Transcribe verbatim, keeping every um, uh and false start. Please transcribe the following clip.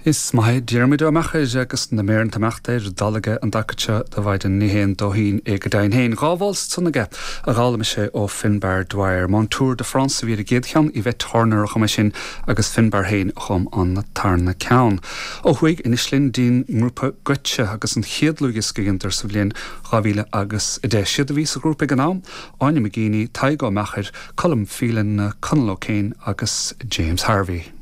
Is maith Diarmuid Ó Meachair agus na méar tamachta dalaige an dacate do bhaid ní héan dóhín é go dain héin gábháil sunnige a gála sé ó Finbar Dwyer. Mon Tour de France a bhí a gcéad cheann Yvette Turner a chum sin agus Finbar féin a chum an tarna ceann. Ó thuaidh anois linn dtí'n ngrúpa Goitse agus an chéad dlúthdhiosca a sa bhliain dhá mhíle agus a deich siad a bhí sa ghrúpa ag an am, Áine McGeeney, Tadhg Ó Meachair, Colm Phelan, Conall O'Kane agus James Harvey.